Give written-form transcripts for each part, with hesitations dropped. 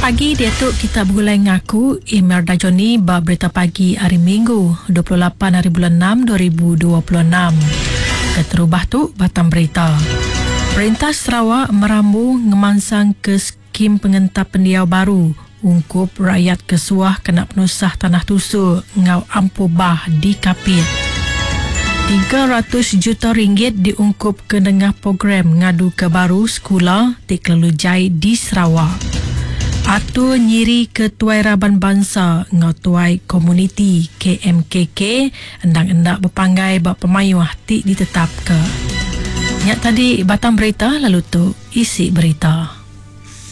pagi diatu kita begulai ngaku Imelda Johnny ba berita pagi hari Minggu 28 hari bulan 6 2026. Keterubah tu batang berita. Perintah Sarawak merambu ngemansang ke skim pengentap pendiau baru ungkup rakyat ke suah kena penusah tanah tusur enggau ampuh bah di Kapit. 300 juta ringgit diungkup ke nengah program ngadu ke baru sekula ti kelalu jai di Sarawak. Atur nyiri ke Tuai Raban Bansa enggau Tuai Komuniti KMKK endang enda bepanggai ba pemayuh ti ditetapka. Nya tadi batang berita lalu tu isi berita.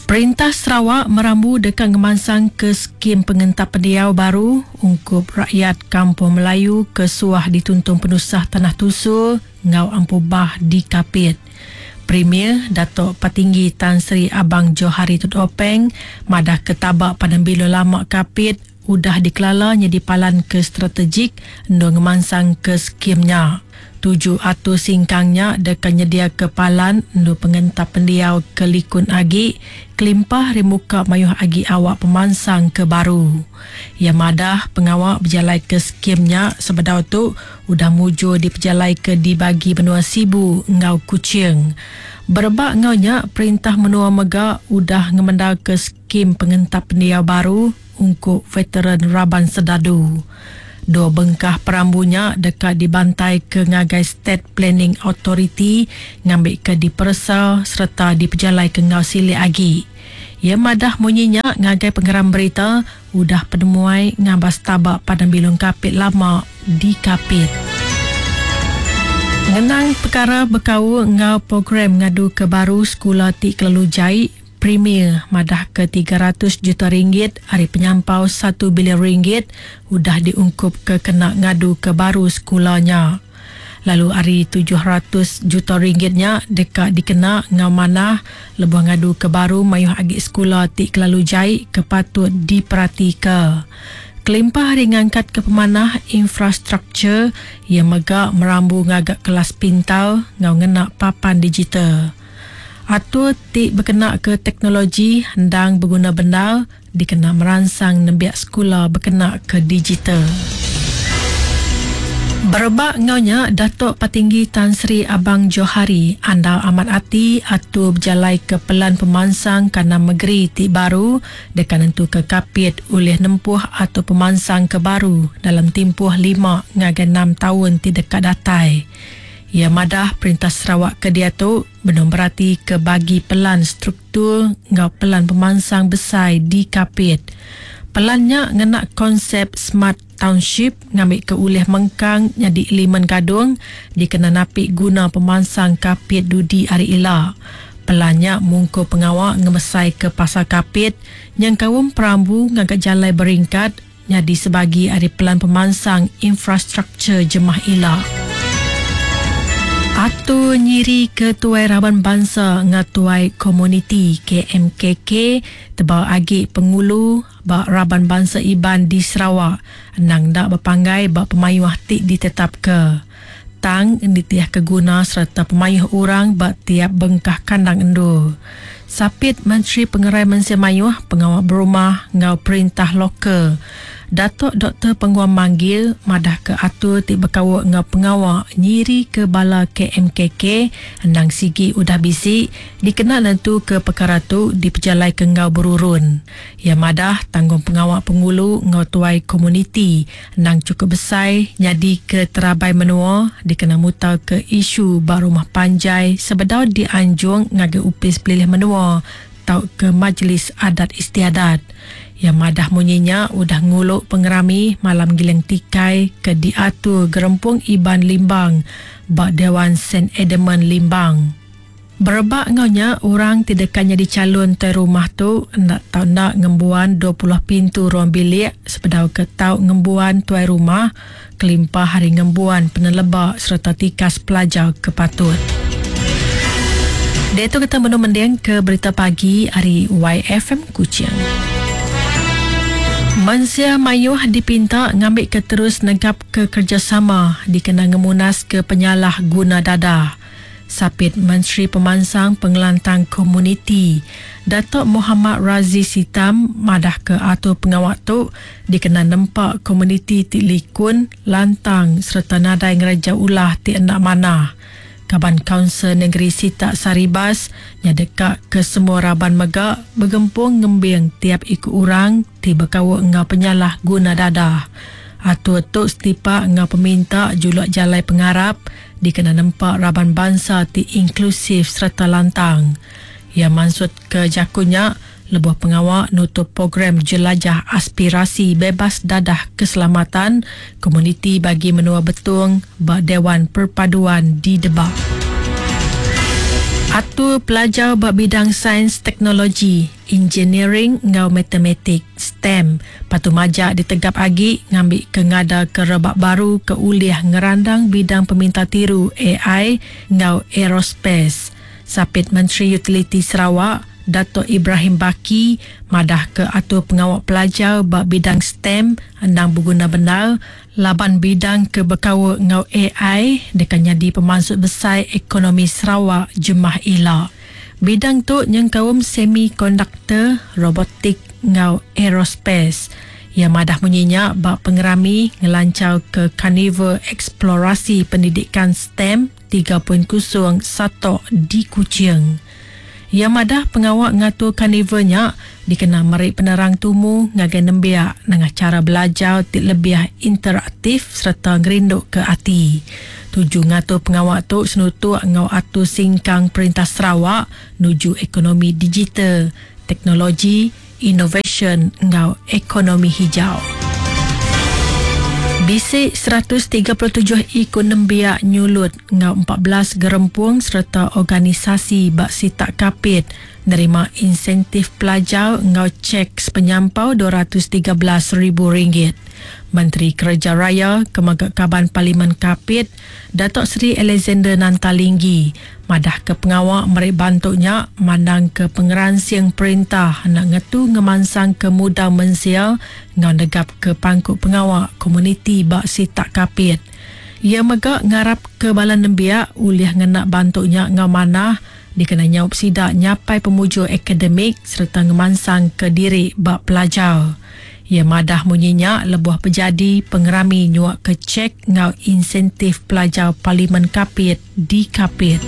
Perintah Sarawak merambu deka ngemansangka skim pengentap pendiau baru ungkup rakyat Kampung Melayu ke suah dituntung penusah tanah tusur enggau ampuh bah di Kapit. Premier Datuk Patinggi Tan Sri Abang Johari Tun Openg madahka taba Padang Bilun Lama Kapit udah dikelala nyadi palan ke strategik endur ngemansangka skim nya. Tuju atur singkang nya deka nyediaka palan endur pengentap pendiau ke likun agi kelimpah ari muka mayuh agi awak pemansang ke baru. Iya madah pengawa bejalaika skim nya sebedau tu udah mujur dipejalaika di bagi menua Sibu enggau Kuching. Berebak enggau nya, perintah menua mega udah ngemendarka skim pengentap pendiau baru ungkup veteran raban sedadu. Dua bengkah perambu nya deka dibantaika ngagai State Planning Authority ngambika diperesa sereta dipejalaika enggau silik agi. Iya madah munyi nya ngagai pengeram berita udah penemuai ngabas taba Padang Bilun Kapit lama di Kapit. Ngenang pekara bekaul enggau program ngaduka baru sekula ti kelalu jai, Premier madahka 300 juta ringgit ari penyampau satu bilion ringgit udah diungkupka kena ngaduka baru sekula nya. Lalu ari 700 juta ringgit nya deka dikena enggau manah lebuh ngaduka baru mayuh agi sekula ti kelalu jai ke patut diperatika. Kelimpah ari ngangkatka pemanah infrastruktur, iya mega merambu ngaga kelas pintar enggau ngena papan digital. Atur ti bekenaka teknologi endang beguna bendar dikena meransang nembiak sekula bekenaka digital. Berebak enggau nya, Datuk Patinggi Tan Sri Abang Johari andal amat ati atur bejalaika pelan pemansang kandang megeri ti baru deka nentuka Kapit ulih nempuh atur pemansang ke baru dalam timpuh lima ngagai enam taun ti deka datai. Iya madah Perintah Sarawak ke diatu benung beratika bagi pelan struktur enggau pelan pemansang besai di Kapit. Pelan nya ngena konsep Smart Township ngambika ulih mengkang nyadi elemen gadung dikena napi guna pemansang Kapit dudi hari ila. Pelan nya mungkur pengawa ngemesaika pasar Kapit nyengkaum perambu ngaga jalai beringkat, nyadi sebagi ari pelan pemansang infrastruktur jemah ila. Atur nyiri ke Tuai Raban Bansa enggau Tuai Komuniti, KMKK, tebal agi pengulu ba raban bansa Iban di Sarawak endang enda bepanggai ba pemayuh ti ditetapka. Tang nitihka guna sereta pemayuh orang ba tiap bengkah kandang endur. Sapit Menteri Pengerai Mensia Mayuh, Pengawa Berumah enggau Perintah Lokal, Datuk Doktor Penguang Manggil madahka atur ti bekaul enggau pengawa nyirika bala KMKK endang sigi udah bisi dikena nentuka pekara tu dipejalaika enggau berurun. Iya madah tanggungpengawa pengulu enggau tuai komuniti endang chukup besai nyadika terabai menua dikena mutarka isu ba rumah panjai sebedau dianjung ngagai Opis Pelilih Menua tauka Majlis Adat Istiadat. Iya madah munyi nya udah ngulu pengerami Malam Giling Tikai ke diatur Gerempung Iban Limbang ba Dewan Saint Edmund Limbang. Berebak enggau nya, orang ti deka nyadi chalun tuai rumah tu enda tau enda ngembuan 20 pintu ruang bilik sebedau ke tau ngembuan tuai rumah kelimpah ari ngembuan peneleba sereta tikas pelajar ke patut. Diatu kita benung mending ke berita pagi ari YFM Kuching. Mensia mayuh dipinta ngambika terus negapka kerejasama dikena ngemunaska penyalah guna dadah. Sapit Menteri Pemansang Pengelantang Komuniti, Datuk Mohammad Razi Sitam madahka atur pengawa tu dikena nempa komuniti ti likun, lantang sereta nadai ngereja ulah ti enda manah. Kaban Kaunsil Nengeri Sitak Saribas nya deka ke semua raban mega begempung ngembing tiap iku orang ti bekaul enggau penyalah guna dadah. Atur tu setipak enggau peminta juluk jalai pengarap dikena nempa raban bansa ti inklusif sereta lantang. Iya mansutka jaku nya lebuh pengawa nutup Program Jelajah Aspirasi Bebas Dadah Keselamatan Komuniti Bagi Menua Betong ba Dewan Perpaduan di Debak. Atur pelajar ba bidang Sains Teknologi, Engineering enggau Matematik, STEM, patut majak ditegap agi ngambika ngadaka rebak baru ke ulih ngerandang bidang pemintar tiru ai enggau aerospace. Sapit Menteri Utiliti Sarawak, Datuk Ibrahim Baki madahka atur pengawa pelajar ba bidang STEM endang beguna bendar laban bidang ke bekaul enggau ai deka nyadi pemansut besai ekonomi Sarawak jemah ila. Bidang tu nyengkaum semikonduktor, robotik enggau aerospace. Iya madah munyi nya ba pengerami ngelancharka Karnival Eksplorasi Pendidikan STEM 3.0 Satok di Kuching. Iya madah pengawa ngatur karnival nya dikena meri penerang tumu ngagai nembiak nengah chara belajar ti lebih interaktif sereta ngerinduka ati. Tuju ngatur pengawa tu senutuk enggau atur singkang Perintah Sarawak nuju ekonomi digital, teknologi, inovasyen enggau ekonomi hijau. Bisi 137 iku nembiak nyulut enggau 14 gerempung sereta organisasi ba sitak Kapit nerima insentif pelajar enggau chek sepenyampau RM213,000. Menteri Kereja Raya ke mega Kaban Parlimen Kapit, Datuk Seri Alexander Nanta Linggi madahka pengawa meri bantu nya mandangka pengeransing perintah enda ngetu ngemansangka mudal mensia enggau negapka pangku pengawa komuniti ba sitak Kapit. Iya mega ngarapka bala nembiak ulih ngena bantu nya enggau manah dikena nyaup sida nyapai pemujur akademik sereta ngemansangka diri ba pelajar. Iya madah munyi nya lebuh bejadi pengerami nyuaka chek enggau insentif pelajar Parlimen Kapit di Kapit.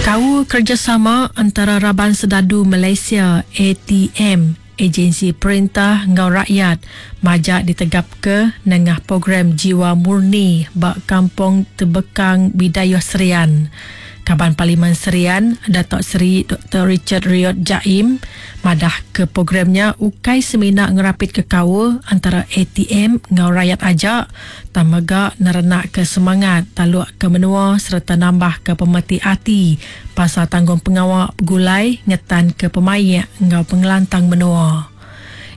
Kaul kerejasama entara Raban Sedadu Malaysia, ATM, ejensi perintah enggau rakyat majak ditegapka nengah program Jiwa Murni ba Kampung Tebekang Bidayuh Serian. Kaban Parlimen Serian, Datuk Seri Doktor Richard Riot Jaim madahka program nya ukai semina ngerapitka kaul antara ATM enggau rayat aja tang mega nerenakka semangat talukka menua sereta nambahka pemeti ati pasal tanggungpengawa begulai ngetanka pemaik enggau pengelantang menua.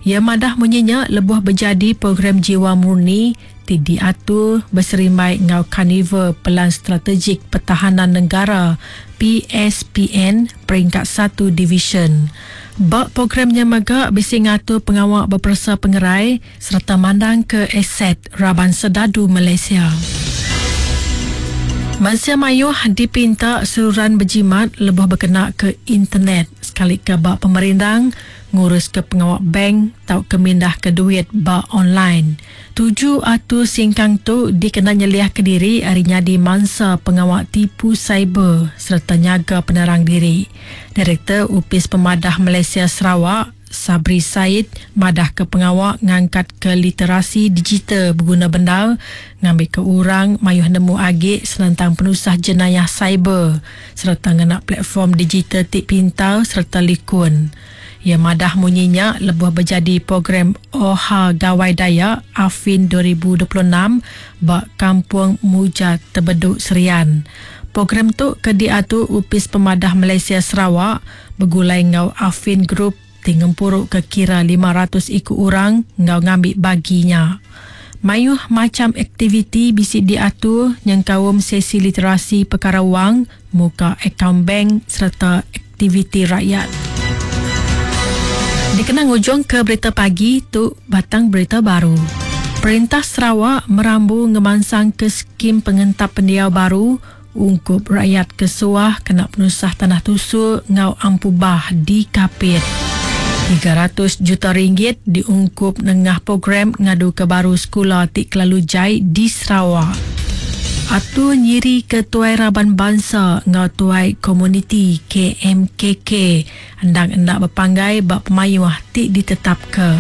Iya madah munyi nya lebuh bejadi Program Jiwa Murni ti diatur beserimbai enggau Karnival Pelan Strategik Pertahanan Negara, PSPN, Peringkat Satu Divisyen. Ba program nya mega bisi ngatur pengawa beperesa pengerai sereta mandangka aset raban sedadu Malaysia. Mensia mayuh dipinta seruran bejimat lebuh bekenaka internet sekalika ba pemerindang, nguruska pengawa bank tauka mindahka duit ba online. Tuju atur singkang tu dikena nyeliahka diri ari nyadi mansa pengawa tipu cyber sereta nyaga penerang diri. Direktor Opis Pemadah Malaysia Sarawak, Sabri Said madahka pengawa ngangkatka literasi digital beguna bendar ngambika orang mayuh nemu agi senentang penusah jenayah cyber sereta ngena platform digital ti pintar sereta likun. Iya madah munyi nya lebuh bejadi program Oha Gawai Dayak Affin 2026 ba Kampung Muja Tebedu Serian. Program tu ke diatur Opis Pemadah Malaysia Sarawak begulai enggau Affin Group ti ngempuruka kira 500 iku orang enggau ngambi bagi nya. Mayuh macham aktiviti bisi diatur nyengkaum sesi literasi pekara wang, muka akaun bank sereta aktiviti rakyat. Dikena ngujungka berita pagi tu batang berita baru. Perintah Sarawak merambu ngemansangka skim pengentap pendiau baru. Ungkup rakyat ke suah kena penusah tanah tusur enggau ampu bah di Kapit. 300 juta ringgit diungkup nengah program ngaduka baru sekula ti kelalu jai di Sarawak. Atur nyiri ke Tuai Raban Bansa enggau Tuai Komuniti, KMKK, endang enda bepanggai ba pemayuh ti ditetapka.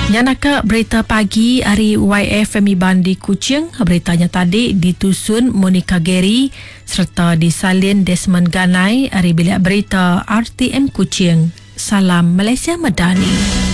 Nya naka berita pagi ari YFM Iban di Kuching. Berita nya tadi ditusun Monica Gary sereta disalin Desmond Ganai ari Bilik Berita RTM Kuching. Salam Malaysia Madani.